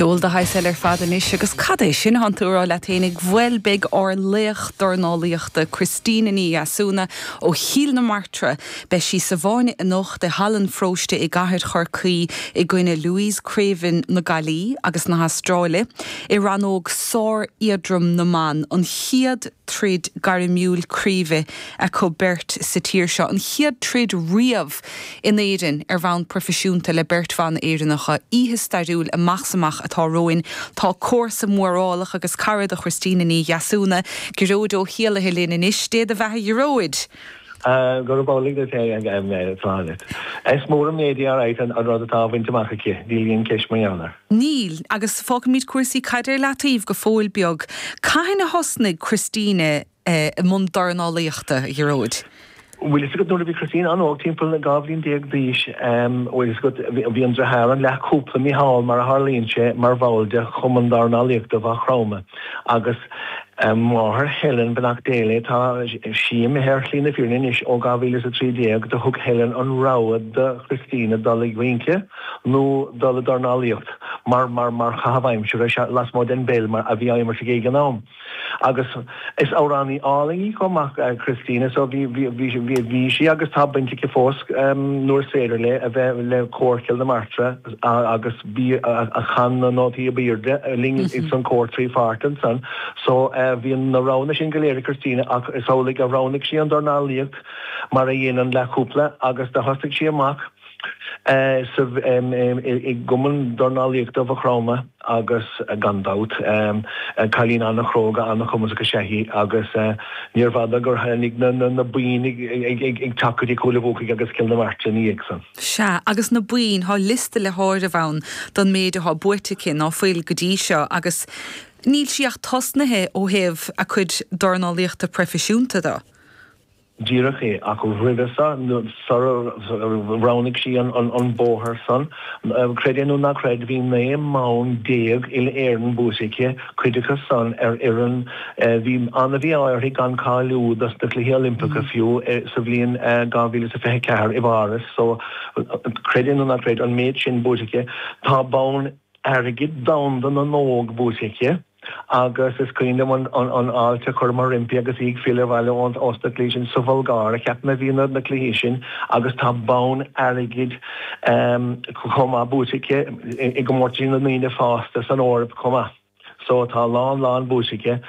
Ceol de shaghas eile ar fad anois agus cad é sin atánn tú a rá leat fhéinig? Bhuel beidh ár laoch dornálaíochta Christina Ní Dheasúna ó Chill na Martra, beidh sí sa bhfáinne anocht i Halla an Pharóiste i gCathair Chorcaí i gcoinne Louise Craven na Gaillí agus na hAstráile i rannóg sár-éadrom na mban, an chéad troid gairmiúil craoibhe acu beirt sa tír seo, an chéad troid riamh in Éirinn ar bhonn proifisiúnta le beirt bhan Éireannacha. Oíche stairiúil amach 's amach atá romhainn. Tá comharsa mórálach agus cara do Christina Ní Dheasúna, Gearóid Ó hÉallaithe linn anois. Dé do bheatha Ghearóid! Gurab amhlaidh duit é, Sláine. Is mór an méid í alright an rud atá á bhaint amach aici, níl aon cheist mar gheall air. Níl, agus fágfaimid cúrsaí caide ar leataobh go fóill beag. Cathain a thosnaigh Christina i mbun dornálaíochta, a Ghearóid? Bhfuil fhios agat nuair a bhí Christina an-óg, timpeall 12 bhliain d'aois, bhfuil fhios agat, bhí an deartháir, an leathchúpla, Micheál, mar a tharlaíonn sé, mar bhall de Chumann Dornálaíochta Mhaigh Chromtha agus máthair Helen, beannacht Dé léi, tá sí imithe ar shlí na fírinne anois ó 2013, do thug Helen an rogha do Christina dul ag rince nó dul ag dornálaíocht mar, mar, mar chaitheamh aimsire lasmuigh den bpeil mar a bhí á imirt aici ag an am. Agus is amhránaí álainn í chomh maith, Christina, so bhí, bhí, bhí, bhí sí agus tá baint aici fós nuair is féidir léi a bheith le Cór Chill na Martra agus bhí a chan na nótaí ab aoirde linn san cór trí pháirt ansan. So bhí na roghanna sin go léir ag Christina ach is amhlaidh a roghnaigh sí an dornálaíocht mar a dhein an leathchúpla agus do thosaigh sí amach sa, i gCumann Dornálaíochta Mhaigh Chromtha agus gan dabht, cailín an-chróga, an-chumasach is ea í agus níorbh fhada gur tháinig na boinn ag teacht go dtí Cúil a' Bhuacaigh agus Cill na Martra ina dhiaidh san. Sea, agus na boinn, tá liosta le háireamh ann don méid atá buaite aici, ná fuil, go dtí seo agus níl sí ach tosnaithe ó thaobh a cuid dornálaíochta proifisiúnta de. Díreach é, ach roimhe san, sara roghnaigh sí an bóthar san, creid é nó ná creid, bhí 19 mbonn uile-Éireann buaite aici, cuid acu san ar fhoireann, bhí an-mhí-ádh uirthi gan cáiliú dos na Cluichí Oilimpeacha fiú sa bhliain 2024 i bPáras, so creid é nó ná creid, an méid sin buaite aici. Tá bonn airgid domhanda na n-óg buaite aici agus is cuimhin liom an fháilte a chuireamar roimpi agus í ag filleadh abhaile ós na cluichí sin sa Bhulgáir, a cheapaim a bhí na cluichí sin agus tá bonn airgid chomh maith buaite aici i gcomórtaisí na ndaoine fásta san Eoraip chomh maith. So tá a lán lán buaite aici.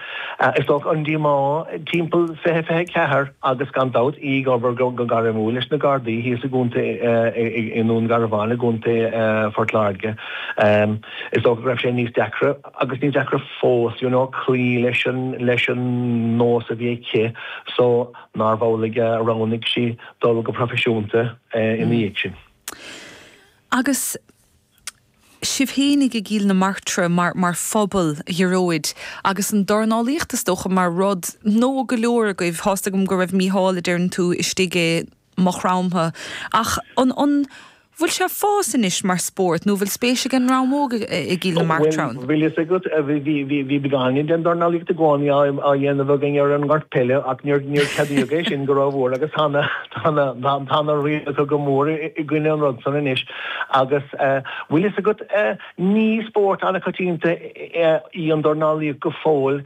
Is dócha an díomá timpeall 2024 agus gan dabht í ag obair go gairmiúil leis na Gardaí thíos i gcontae i nDún Garbhán i gcontae Phort Láirge. Is dócha go raibh sé níos deacra agus níos deacra fós you know cloí leis an leis an nós a bhí aici so nárbh amhlaidh a roghnaigh sí dul go proifisiúnta ina dhiaidh sin. Agus sibh fhéinig i gCill na Martra mar mar phobal, a Ghearóid, agus an dornálaíocht is dócha mar rud nua go leor agaibh, tá's agam go raibh Mícheál, a deireann tú, istigh i Maigh Chromtha, ach an an bhfuil sé ag fás anois mar spórt nó bhfuil spéis ag an ndream óg i gCill na Martra ann? Bhuel, bhfuil fhios agat, bhí bhí bhí beagáinín den dornálaíocht i gcónaí á á dhéanamh againn ar an ngort peile ach níor níor ceadaíodh é sin go rómhór agus tá na tá na tá na rialacha go mór i i gcoinne an rud san anois. Agus bhfuil fhios agat, ní spórt an-choitianta í an dornálaíocht go fóill.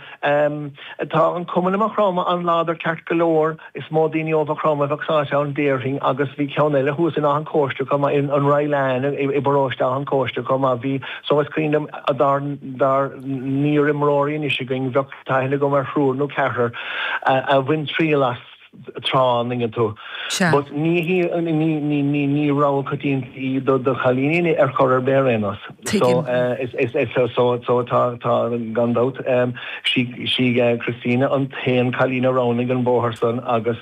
Tá an cumann i Maigh Chromtha an-láidir ceart go leor, is mó daoine ó Mhaigh Chromtha a bheadh sáite ann déarfainn, agus bhí ceann eile thuas in Áth an Chóiste chomh maith, an Rylane i bparóiste Áth an Chóiste chomh maith. Bhí, so is cuimhin liom dár n-iarimreoirí anois againn, bheadh aithne agam ar thriúr nó ceathrar a bhain triail as. tráth, an dtuigeann tú. Sea. But ní hí, ní, ní, ní, ní rogha coitianta í do, do chailíní ar chor ar bith ar aon nós. Tuigim. So, is, is, is, so, so, so tá, tá, gan dabht, sí, sí Christina an t-aon cailín a roghnaigh an bóthar san agus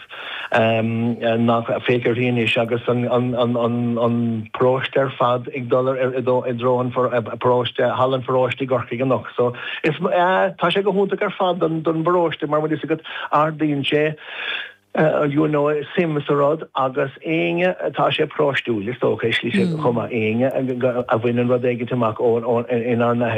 nach, féach uirthi anois agus an, an, an, an, an paróiste ar fad ag dul ar, i dtreo an paróiste, halla an pharóiste i gCorcaigh anocht. So, is, tá sé go hiontach ar fad don, don bparóiste mar bhfuil fhios agat, Ardaíonn sé you know suim sa rud agus éinne tá sé paróistiúil is dócha i slí chomh maith éinne a bhaineann rud éigin amach ó inár n-athair.